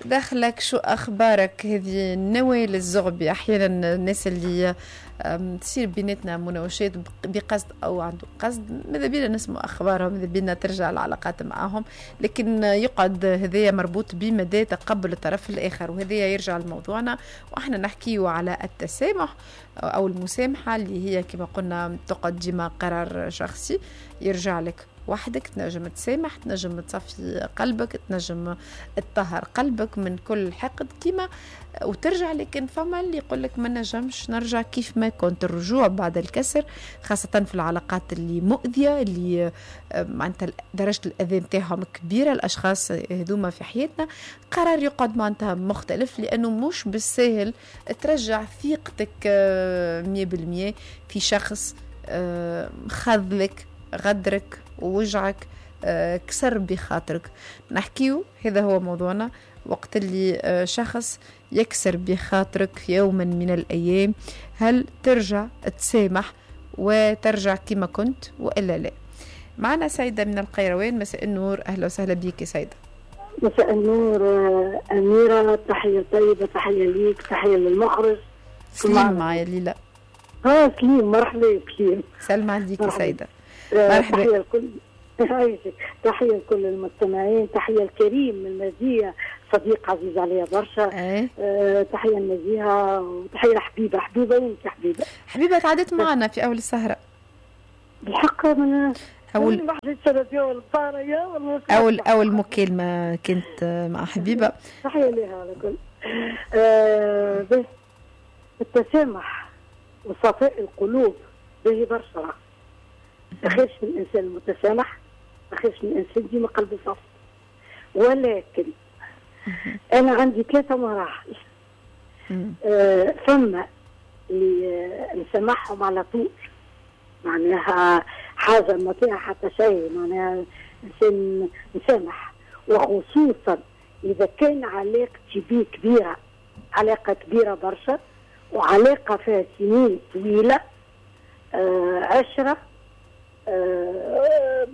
دخلك شو أخبارك؟ هذه نوال الزغبي. أحيانا الناس اللي تصير بيناتنا مناوشات بقصد أو عنده قصد، ماذا بينا نسمع أخبارهم، ماذا بينا ترجع العلاقات معهم، لكن يقعد هذايا مربوط بمدى تقبل الطرف الآخر، وهذايا يرجع لموضوعنا وإحنا نحكيه على التسامح أو المسامحة اللي هي كما قلنا تقعد ديما قرار شخصي يرجع لك وحدك. تنجم تسامح، تنجم تصفي قلبك، تنجم تطهر قلبك من كل حقد كما وترجع، لكن فما اللي يقول لك ما نجمش نرجع كيف ما كنت. الرجوع بعد الكسر خاصة في العلاقات اللي مؤذية، اللي معناتها درجة الأذى نتاعهم كبيرة، الأشخاص هذوما في حياتنا قرار يقعد معناتها مختلف، لأنه مش بالساهل ترجع ثقتك 100% في شخص خذلك، غدرك، ووجعك، كسر بخاطرك. نحكيو هذا هو موضوعنا، وقت اللي شخص يكسر بخاطرك يوما من الأيام، هل ترجع تسامح وترجع كما كنت وإلا لا؟ معنا سيدة من القيروان. مساء النور، أهلا وسهلا بك سيدة. مساء النور أميرة، تحية طيبة، تحية ليك، تحية للمخرج. سليم معايا ليلى. سليم، مرحبا سليم. سلام عليك سيدة. مرحبا. تحية لكل تحية لكل المستمعين، تحية الكريم من المزية، صديق عزيز عليا برشا. تحية النزيهة وتحية لحبيبة. حبيبة وينك يا حبيبة؟ حبيبة تعدت معنا في أول السهرة. بالحق من أول أول مكالمة كانت مع حبيبة. تحية لها على كل. بس التسامح وصفاء القلوب به برشا. ما خيرش من الانسان المتسامح، ما خيرش من الانسان ديما قلبه صافي. ولكن انا عندي 3 مراحل. ثم اللي نسامحهم على طول، معناها حاجة ما فيها حتى شيء، معناها انسان نسامح، وخصوصا اذا كان علاقتي بيه كبيرة، علاقة كبيرة برشا، وعلاقة فيها سنين طويلة، عشرة،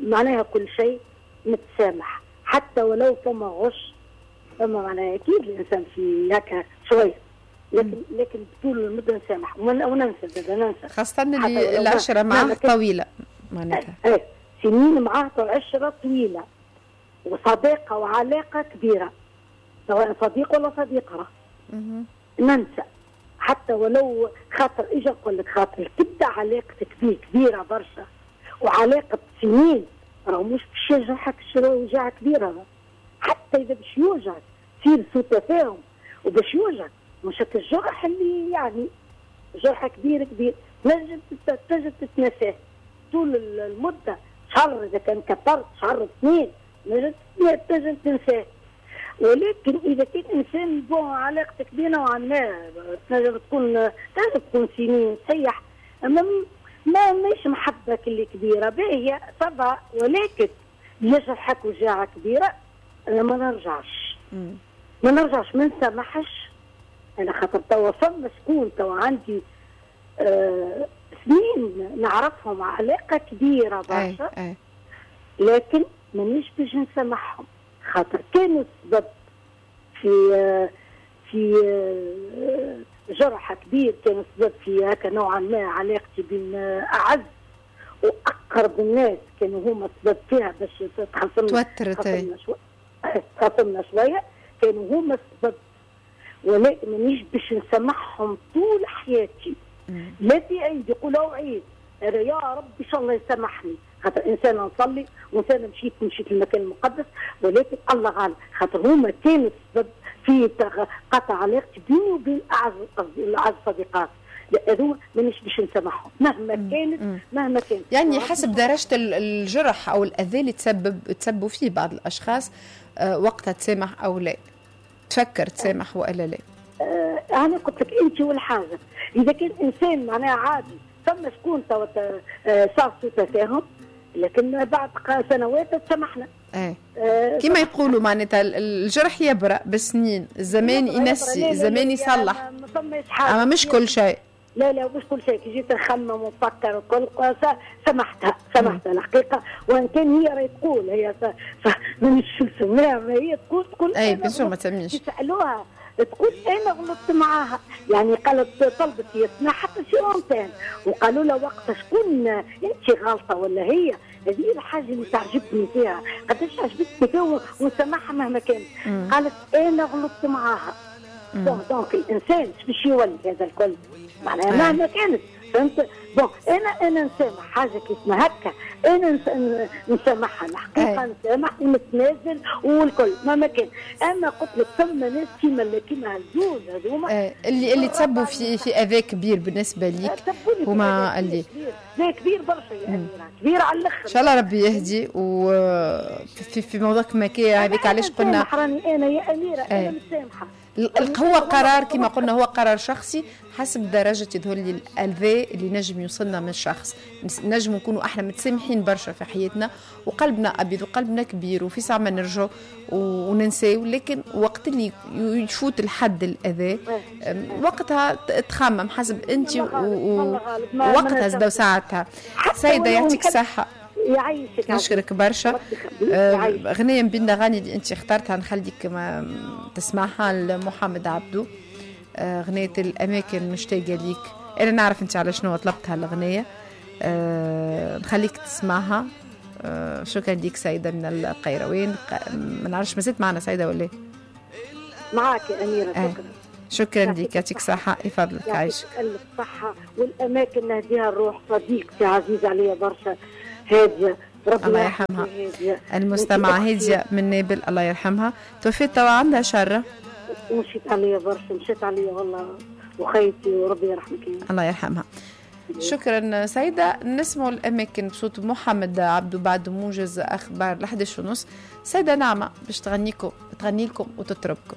معناها كل شيء نتسامح، حتى ولو فما غش، فما معناها اكيد الانسان في هكا شوية، لكن طول المدة نسامح وننسى، ننسى، خاصة اللي العشرة معاه طويلة معناتها. سنين معاه عشرة طويلة وصداقه وعلاقة كبيرة، سواء صديق ولا صديقه، ننسى حتى ولو خاطر اجا نقول لك، خاطر تبدا علاقتك بيه كبيرة برشا وعلاقة سنين، راهو مش باش يجرحك وجعه كبيرة، حتى إذا باش يوجعك تصير سوء تفاهم وباش يوجعك، مش هكا الجرح اللي يعني جرح كبير كبير، تنجم تتنساه طول المدة، شهر إذا كان كثرت شهر اثنين تنجم تنساه. ولكن إذا كان إنسان bon علاقتك بيه نوعا ما تنجم تكون سنين صحيح، أما ما مش محبة اللي كبيرة باهية طبعا، ولكن يجرحك وجاعة كبيرة، أنا ما نرجعش. ما نرجعش، ما نسامحش. أنا خاطر توا فما شكون توا عندي سنين نعرفهم علاقة كبيرة برشا، لكن مانيش باش نسامحهم، خاطر كانوا السبب في في جرح كبير، كان السبب في هكا نوعا ما علاقتي بين اعز واقرب الناس، كانوا هما السبب فيها باش تخاصمنا، تخاصمنا شوية، كانوا هما السبب، ولكن مانيش باش نسامحهم طول حياتي. لا في عيد يقولوا عيد، انا يا رب ان شاء الله يسامحني، خاطر انسان نصلي وانسان مشيت للمكان المقدس، ولكن الله غالب، خاطر هما كانوا السبب في قطع علاقتي بيني وبين اعز صديقات، هذوما مانيش باش نسامحهم مهما كانت، مهما كانت. يعني حسب درجه الجرح او الاذى اللي تسبوا فيه بعض الاشخاص، وقتها تسامح او لا، تفكر تسامح والا لا. انا قلت لك انت والحاجة، اذا كان انسان معناها عادي، ثم شكون صار سوء تفاهم، لكن بعد سنوات تسامحنا. كما يقولوا معناتها الجرح يبرأ بالسنين، الزمان ينسي، الزمان يصلح، اما مش كل شيء. لا لا مش كل شيء، كي جيت نخمم ونفكر وكل سمحتها الحقيقة، وان كان هي راهي تقول هي مانيش نسميها، هي تقول اي bien sûr ما تسميش، يسالوها تقول انا غلطت معاها، يعني قالت طلبت يسمع حتى شي اونتين، وقالوا لها وقتها شكون انت غلطه ولا هي؟ هذه الحاجة اللي تعجبني فيها، قداش عجبتني فيها ونسامحها مهما كانت. قالت انا غلطت معاها. donc الانسان باش يولي هذا الكل معناها مهما كانت، فهمت؟ bon انا نسامح حاجة كيف ما هكا، انا نسامحها الحقيقة، نسامح ونتنازل والكل مهما كان. اما قلت لك ثم ناس كيما الزوز هذوما اللي تسبوا في اذى كبير بالنسبة ليك، هما اللي لا كبير برشا يا اميره، كبير على الاخر. ان شاء الله ربي يهدي. وفي في موضوع كما كي هذيك علاش قلنا راني انا يا اميره انا متسامحة. هو قرار كما قلنا، هو قرار شخصي حسب درجة يظهر لي الأذى اللي نجم يوصلنا من الشخص. نجم نكونوا احنا متسامحين برشا في حياتنا وقلبنا أبيض وقلبنا كبير وفي ساعة ما نرجعوا وننساو، لكن وقت اللي يفوت الحد الأذى وقتها تخمم حسب أنت ووقتها زدوا ساعتها. سيدة يعطيك الصحة، يعيشك، نشكرك برشا. غنية من بين الأغاني اللي أنت اخترتها نخليك ما تسمعها لمحمد عبدو، غنية الأماكن مشتاقة ليك. أنا نعرف أنت على شنو طلبتها الغنية، نخليك تسمعها. شكرا ليك سيدة من القيروين. ما نعرفش ما زلت معنا سيدة ولا؟ معاك يا أميرة. شكرا شكرا لك، يعطيك صحة، يفضلك، عايشك. يعطيك الصحة. والأماكن نهديها الروح صديقتي عزيزة عليا برشا هادية، ربي الله يرحمها، المستمعة هادية من نابل الله يرحمها، توفيت توا عندها شرة. مشيت عليا برشا، مشيت عليا والله وخيتي، وربي يرحمك. الله يرحمها. شكرا سيدة. نسمع الأماكن بصوت محمد عبدو بعد موجز أخبار 11:30. سيدة نعمة باش تغني لكم وتطربكم.